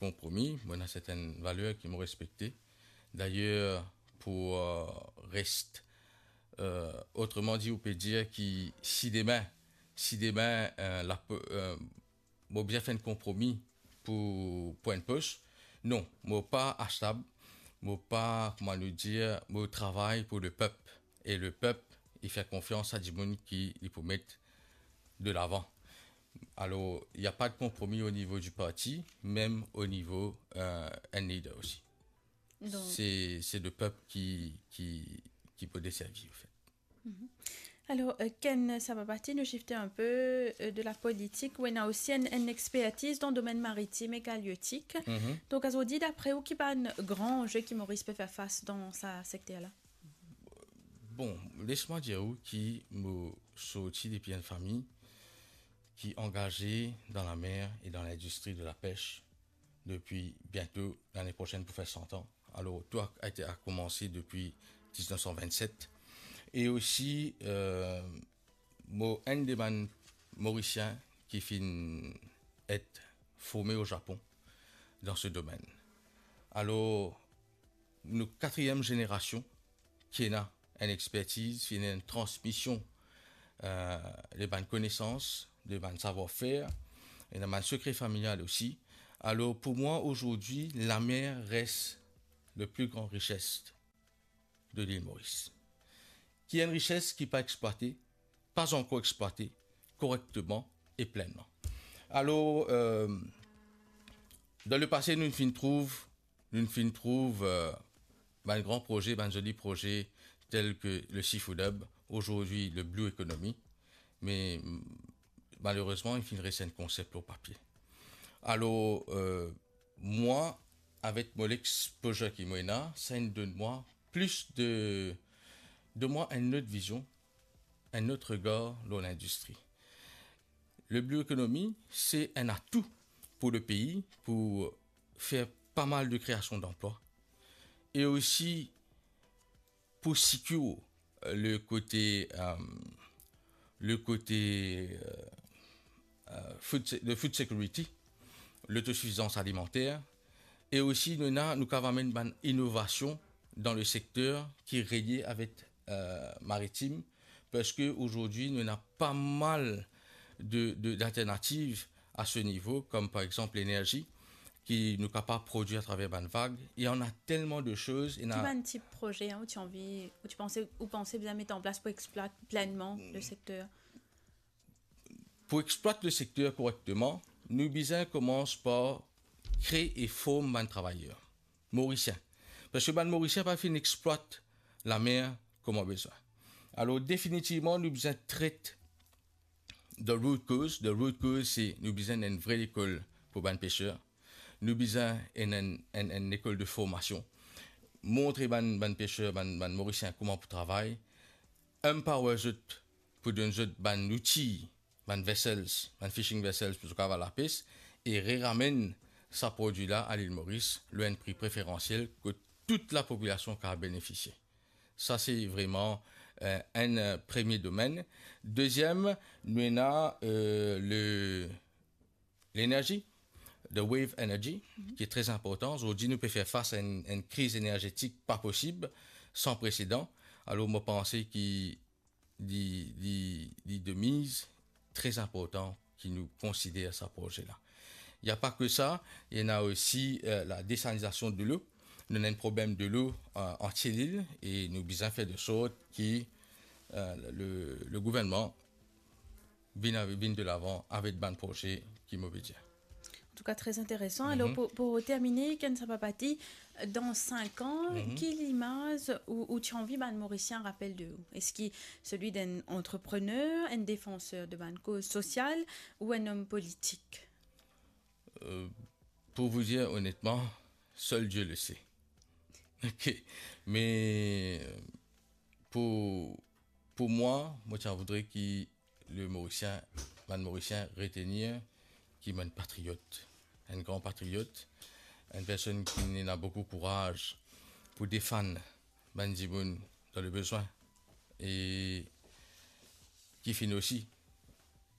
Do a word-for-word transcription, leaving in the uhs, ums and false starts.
konpromi, mo ena sertenn valer ki mo respekte. Dayer, pou, euh, rest, euh, otreman di, ou pe dir ki si demin, si demin, euh, la, euh, mo bizin fer enn konpromi pou, pou enn pos, non, mo pa astab, mo pa, kouma nou dir, mo travay pou lepep, e lepep, li fer konfians a dimoun ki li pou met de lavan. Alor, il n'y a pas de compromis au niveau du parti, même au niveau, euh, un leader aussi. Donc c'est, c'est le peuple qui, qui, qui peut desservir, en fait. Mhm. Alors, euh, Ken Sababati, nous shifter un peu, euh, de la politique. Ou ena aussi une, une expertise dans le domaine maritime et halieutique. Mhm. Donc, azordi, d'après ou, ki bann gran anze ki Moris pe fer fas dan sa sekter la? Bon, les mwa dir ou ki mo sorti depi enn fami ki angaze dan lamer e dan lindistri de lapes depi biento lane prosenn pou fer san an. Alor, tou a, a été, a koumanse depi diznef san vennset. E osi, euh, mo enn de bann Morisien ki finn et forme o Japon dan se domenn. Alor, nou katriem zenerasion ki ena enn expertiz, ki ena enn transmision, euh, de bann konesans, de bann savwar-fer, ena bann sekre familial osi. Alor, pou mwa, azordi, lamer res le pli gran rises de lil Moris. Ki enn rises ki pa explwate, pa ankor explwate korekteman e plennman. Alor, euh, dan lepase, nou finn trouv, nou finn trouv, euh, bann gran proze, bann zoli proze, tel ke le Seafood Hub, azordi le Blue Economy, me, mm, malerezman, li finn res enn konsep lor papie. Alor, euh, mwa, avek mo lexpoze ki mo ena, sa inn donn mwa plis de, donn mwa enn lot vizion, enn lot regar lor lindistri. Le Blue Economy, se enn atou pou lepei, pou fer pa mal de kreasion danplwa. E osi, pou secure, euh, le kote, euh, le kote, euh, euh, food se-, le food security, lotosifizans alimanter, e osi nou ena, nou kapav amenn bann inovasion dan le sekter ki relie avek, euh, maritim, parski azordi nou ena pa mal de, de, d'alternativ a se nivo, kom par exanp lenerzi, ki nou kapav prodwir atraver bann vag. Il y en a tellement de choses. Ena ki bann tip proze, hein, ou ti anvi, ou ti panse, ou panse bizin met an plas pou exploit plenman le sekter? Pou exploit le sekter korekteman, nou bizin koumans par kree e form bann travayer Morisien. Parski bann Morisien pa finn exploit lamer kouma bizin. Alor, definitivman, nou bizin tret the root cause. The root cause, se nou bizin enn vre lekol pou bann peser. Nou bizin enn, enn, enn, enn lekol de formasion. Montre bann, bann peser, bann, bann Morisien kouma pou travay. Empower zot pou donn zot bann louti, bann vessels, bann fishing vessels pou zot kapav al lapes, e reramenn sa prodwi la a lil Moris lor enn pri preferansiel kot tou lapopilasion kapav benefisie. Sa se vreman, euh, enn, euh, premie domenn. Deziem, nou ena, euh, le, lenerzi, the wave energy, ki tre inportan. Zordi nou pe fer fas a enn, enn kriz enerzetik pa posib, san presedan. Alor mo panse ki li, li, li de miz, tre inportan ki nou konsider sa proze la. Il y a pas que ça, ena osi, euh, la desalinizasion de lo. Nou ena enn problem de lo, euh, antie lil, e nou bizin fer de sort ki, euh, le, le gouvernman vinn, vinn de lavan avek bann proze ki mo pe dir. An tou ka, tre interesan. Alor, pou, pou termine, Ken Sababati, dan sink an, ki limaz ou, ou ti anvi bann Morisien rapel de ou? Eski selwi d'enn antreprener, enn defanser de bann koz sosial ou enn om politik? Euh, pour vous dire honnêtement, seul Dieu le sait. Ok. Me, euh, pou, pou mwa, mo ti a voudre ki le Morisien, bann Morisien retenir ki mo enn patriot, enn gran patriot, enn personn ki ena boukou kouraz pou defann bann dimoun dan le bezwin, e ki finn osi